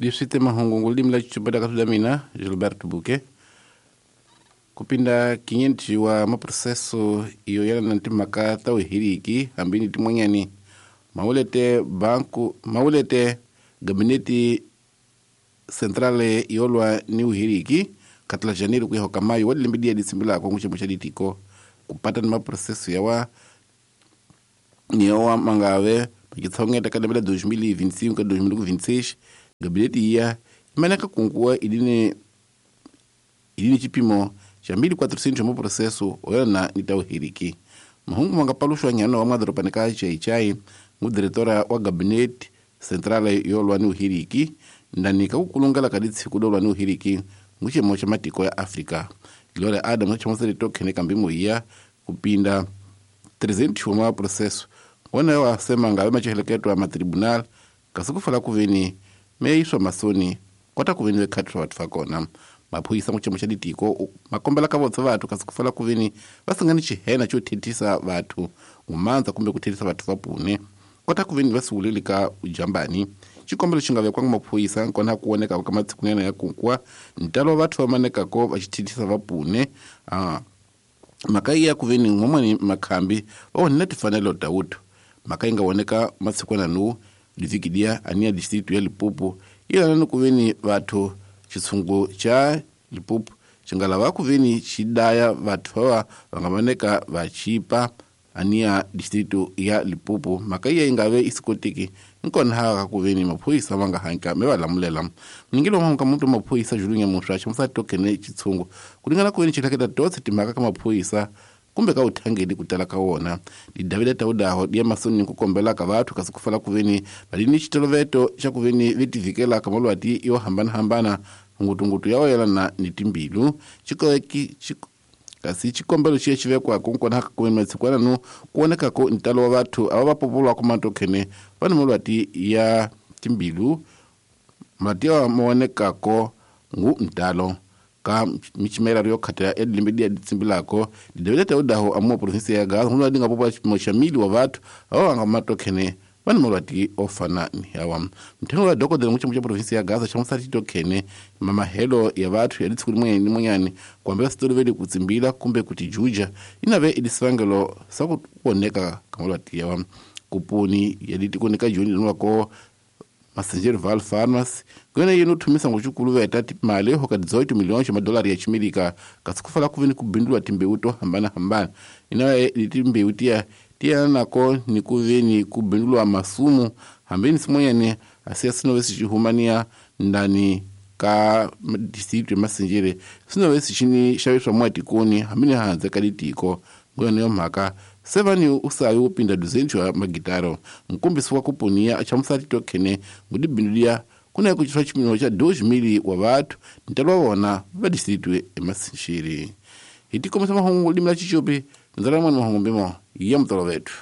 Leswi te mahungu limi la chichupeta ka swida mina Gilberto Buke kupinda 500 wa maproseso iyo yalana na timhaka ta vuhiriki hambi ni tin'wanyani mawulete banku mawulete gabineti centrale yolwa ni vuhiriki katla janeiro kuya ka mayo wa lembe dia ditsimbilako nguchemo cha ditiko kupata ni maproseso yawa niyowa mangave pakitsongeta ka lembe la 2025 ka 2026 gabineti iya imaneka kunkuwa idine chipimo cha 1400 mo processo oyana ni tauhiriki mahungu mangapaluxwa nyana wa madoropa ka chaichai ngudiretora wa gabineti centrale yolwa ni uhiriki ndani ka kukulungela ka ditshiku dolwa ni uhiriki nguchemo cha matiko ya Afrika Gloria Adams chamuseri tokhene kambimo iya kupinda 300 wa processo wona wasema ngabe macheheleketwa matribunal kasukufala kuveni meiswa masoni kota kuveni vekhatwa vathu vakona maphuyisa nguchemo cha ditiko makombela ka votsa vathu kasukufala kuveni vasingani chihena cho thethisa vathu ngumandza kumbe kuthethisa vathu vapune kota kuveni vasiwuleli ka ujambani xikombelo xi nga vekwanga maphuyisa nkona kuoneka ka matsikunyana ya kunkwa ntalo wa vathu vamanekako va xithethisa vapune mhaka iya kuveni n'wan'wani makhambi va onhela timfanelo ta wuthu mhaka yi nga voneka masikwana nu livikidia aniya district ya Limpopo ilana ni kuveni vathu xitshungu xa Limpopo xi nga lava kuveni xi daya vathu vava va nga voneka va chipa aniya district ya Limpopo mhaka iya yi nga ve isikoteki nkona ha kuveni maphorisa va nga hanka me va lamulela mningelo wa ka muntu maphorisa Julunya Muswa ximusa tokene xitshungu ku ringana kuveni xi hleketa totse timhaka ka maphorisa kumbe ka uthangeli ku tala ka wona didavida taudaho dia masoni ku kombela ka vathu kasi ku fala kuveni valini xitoloveto xa kuveni vetivikela ka malwati yo hambanahambana ngutungutu ya wayelana ni timbilu kasi xikombelo xi xi vekwako nkona kuveni matsikwana nu kuonekako ntalo wa vathu ava va popolwako matokhene va ni malwati ya timbilu mati ya maonekako ngu ntalo ka michimela yo khatela edlimbe dia ditsimbilako didavida taudaho amuwa provinsi ya Gaza huna dinga popa xipimo xa mili wa vathu ava nga matokhene va ni malwati ofana ni yawa mthengo wa dokodela nguchemo cha provinsi ya Gaza xa musati tokhene mamahelo ya vathu ya litsiku limwe ni munyani kuambela sitoloveli kutsimbila kumbe kutijuja inave idisivangelo sa kuoneka ka malwati yawa kupuni ya ditikonika joni linwako Massanger Val Farmers kwena yino thumisa ngochukulu veta timali hoka 18 milhões de dólares ya chimirika kasikufala kuveni kubindulwa timbewu to hambana hambana inawe timbewu tiya tiya nako ni kuveni kubindulwa masumu hambeni simonyane asiya sinovesi chihumania ndani ka district ya Masinjere sinovesi chini xaviswa mwatikoni hambeni hanze ka ditiko ngwena yo mhaka sevani usayi upinda 200 wa magitaro mkumbisi wa kupunia achamusati tokhene ngudibindulia kuna kuchitwa chimino cha 2000 wa vathu ntalo wona va district eMasinjere hitikomisa mahungu limla chichupi ndzala mwana mahungu mbimo ya mutolo vethu.